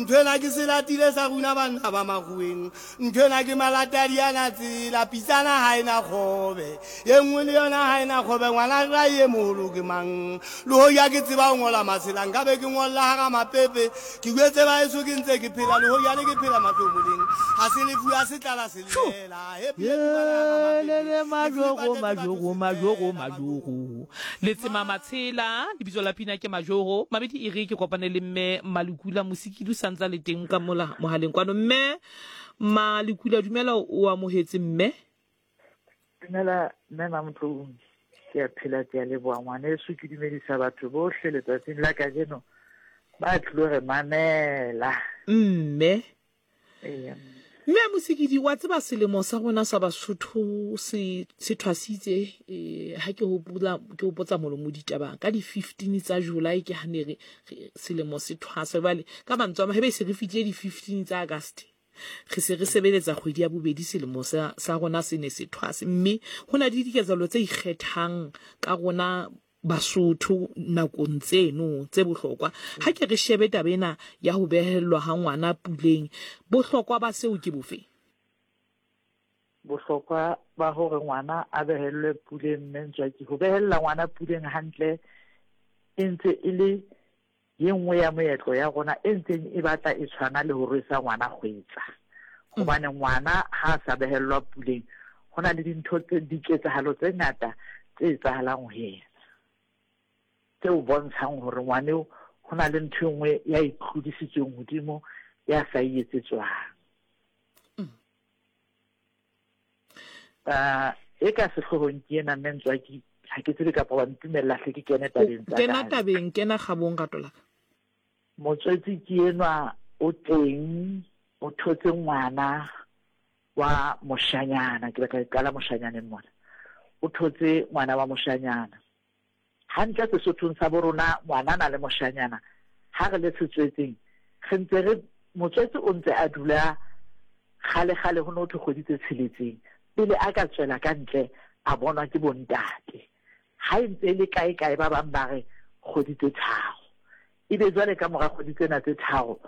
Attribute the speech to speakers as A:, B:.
A: Nthwena ke selatile sa runa banna ba makgoweng. Nthwena ke malatadi ana tsela, pitsana ha e na kgobe. Ye nngwe le yona ha e na kgobe, ngwana rrae e moholo ke mang? Le hoja ke tseba ho ngola masela, nka be ke ngolla hara mapepe. Ke jwetse baheso ke ntse ke phela, le hoja ne ke phela mahlomoleng. Ha se lefu, ha se tlala se llela. He phe fumana hara mapepe.
B: Lele
A: Lefu le
B: majogo
A: patetse batho
B: majogo
A: se
B: majogo
A: llela,
B: majogo. Letsema Matshela, lebitso la pina ke Majoro. Mabedi e re ke kopane le mme Malekula Mosikidi o sa ntsa le teng ka mola mohaleng kwano. Mme Malekula dumela o amohetse mme.
C: Dumela mme Mamotloung, ke a phela ke a leboha ngwaneso, ke dumedisa batho bohle letsatsing la kajeno ba tlilo re mamela.
B: Mme
C: Eya.
B: Mme Mosikidi, wa tseba selemo sa rona sa Basotho se se thwasitse eh, ha ke hopola ke hopotsa molomo ditaba ka di 15 tsa July ke ha ne re selemo se thwasa jwale ka mantswe a mang hebe se re fihlile di 15 tsa August re se re sebeletsa kgwedi ya bobedi selemo sa sa rona se ne se thwase mme ho na le diketsahalo tse ikgethang ka rona Basotho nakong tseno tse bohlokwa. Ha ke re shebe taba ena ya ho behellwa ha ngwana puleng, bohlokwa ba seo ke bofe?
C: Bohlokwa ba hore ngwana a behellwe puleng Mme Ntswaki, ho behella ngwana puleng hantle e ntse e le ye nngwe ya moetlo ya rona e ntseng e batla e tshwana le ho rwesa ngwana kgwetsa. Hobane ngwana ha a sa behellwa puleng, ho na le dintho tse, diketsahalo tse ngata tse etsahalang ho yena, tseo bontshang hore ngwaneo ho na le ntho e nngwe ya e tlodisitsweng hodimo ya sa e etsetswang. Uh, e ka sehloohong ke ena mme Ntswaki, ha ke tsebe kapa wa ntumella hle ke kene tabeng tsa
B: Kena tabeng, kena kgabong rato la ka.
C: Motswetsi ke enwa o teng, o thotse ngwana wa moshanyana, ke batla ke qala moshanyaneng mona. O thotse ngwana wa moshanyana. Hantle Sesothong sa bo rona ngwanana le moshanyana ha re le setswetseng re ntse re motswetse o ntse a dula kgale kgale ho ne ho thwe kgwedi tse tsheletseng pele a ka tswela ka ntle a bonwa ke bontate ha e ntse e le kae kae ba bang ba re kgwedi tse tharo ebe jwale ka mora kgwedi tsena tse tharo.